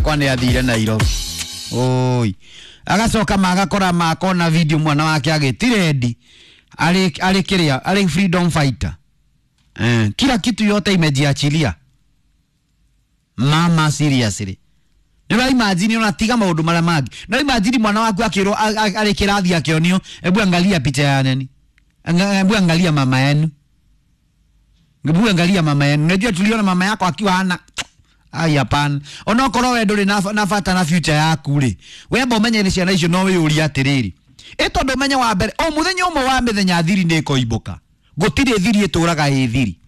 Wakwa nĩ athire Nairobi. Oi, agacoka magakora makona video mwana wake agĩtirendi arĩ kĩrĩa arĩ freedom fighter, kila kitu yote imejiachilia. Mama, seriously, nĩ imagine ona tiga maũndũ marĩa mangĩ, no imagine mwana waku akĩrwo arĩ kĩrathi akĩonio, "Hebu angalia picha ya nani? Hebu angalia mama yenu, hebu angalia mama yenu. Unajua tuliona mama yako akiwa hana." Ai, hapana. Onokorwo we ndũrĩ na bata na future yaku rĩ, wemba ũmenye nĩ ciana icio, no wĩyũrie atĩrĩrĩ, ĩ tondũ ũmenye wa mbere o mũthenya ũmwe wa mĩthenya thiri nĩ ĩkoimbũka. Gũtirĩ thiri ĩtũraga ĩ thiri,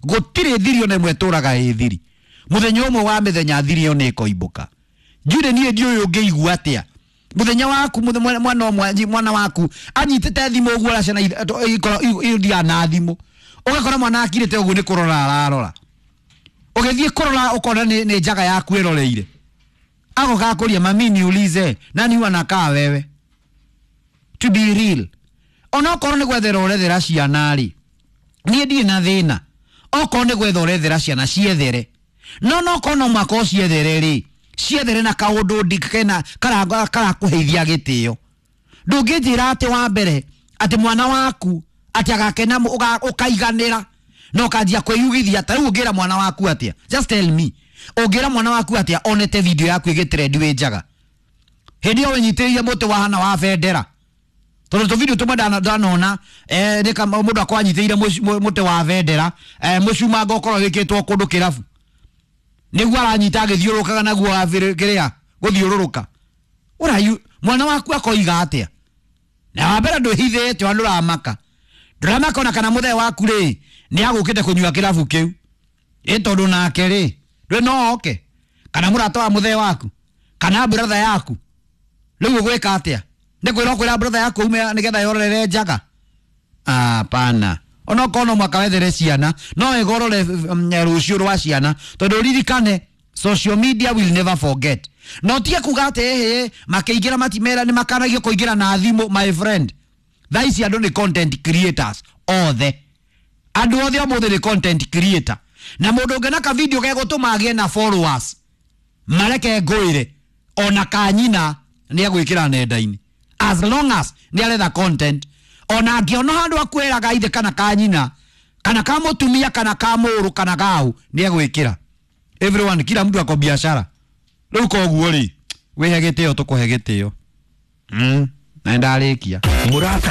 gũtirĩ thiri ona ĩmwe ĩtũraga ĩ thiri. Mũthenya ũmwe wa mĩthenya thiri ĩyo nĩ ĩkoimbũka. Njuĩ niĩ ndiũĩ ũngĩigua atĩa mũthenya waku mwana ũmwe, mwana waku anyitĩte thimũ ũguo, ũrĩa ciana ithiaga na thimũ, ũgakora mwana akirĩte ũguo nĩ kũrora ararora, ũgĩthiĩ kũrora ũkona nĩ njaga yaku ĩroreire. Agoka akũria, "Mami, niulize, nani huwa anakaa wewe?" To be real, onokorwo nĩ gwethera ũrethera ciana rĩ, niĩ ndirĩ na thĩna. Okorwo nĩ gwetha ũrethera ciana, ciethere, no nokorwo no mũhaka ũciethere rĩ, ciethere na kaũndũ kena karakũheithia gĩtĩo. Ndũngĩnjĩra atĩ wa mbere atĩ mwana waku atĩ agakena ũkaiganĩra na ũkanjia kwĩyugithia. Ta rĩu ũngĩra mwana waku atĩa? Just tell me, ũngĩra mwana waku atĩa onete video yaku ĩgĩtrend wĩ njaga, hĩndĩ ĩyo wĩnyitĩrĩire mũtĩ wahana wa bendera? Tondũ tũ video tũmwe ndanona, nĩ kama mũndũ akorwo anyitĩrĩire mũtĩ wa bendera, mũcumanga ũkorwo wĩkĩtwo kũndũ kĩrabu, nĩguo aranyita agĩthiũrũrũkaga naguo kĩrĩa gũthiũrũrũka. Ũrayu mwana waku akoiga atĩa? Na wa mbere ndwĩhithĩte, ona ndũramaka, ndũramaka ona kana mũthee waku rĩ nĩ agũkĩte kũnyua kĩrabu kĩu, ĩ tondũ nake rĩ ndwĩ no oke, kana mũrata wa mũthee waku kana brother yaku. Rĩu ũgwĩka atĩa? Nĩ kwĩra ũkwĩra brother yaku ume nĩgetha yororere njaga? Hapana. Onokorwo no mwaka wethere ciana, no wega ũrore rũciũ rwa ciana, tondũ ririkane social media will never forget. No tige kuga atĩ ĩhĩ makĩingĩra matimera nĩ makanagio kũingĩra na thimũ. My friend, thaa ici andũ nĩ content creators othe. Andũ othe ũmũthĩ nĩ content creator, na mũndũ ũngĩ na ka video gegũtũma agĩe na followers, mareke ngũĩre, ona kanyina nĩ agwĩkĩra nenda-inĩ as long as nĩ aretha content. Ona angĩona handũ akwĩraga ithe kana kanyina kana ka mũtumia kana ka mũrũ kana gau, nĩ agwĩkĩra. Everyone, kila mtu ako biashara rĩu. Koguo rĩ, wĩhe gĩtĩo, tũkũhe gĩtĩo. Na ndarĩkia. Mũrata.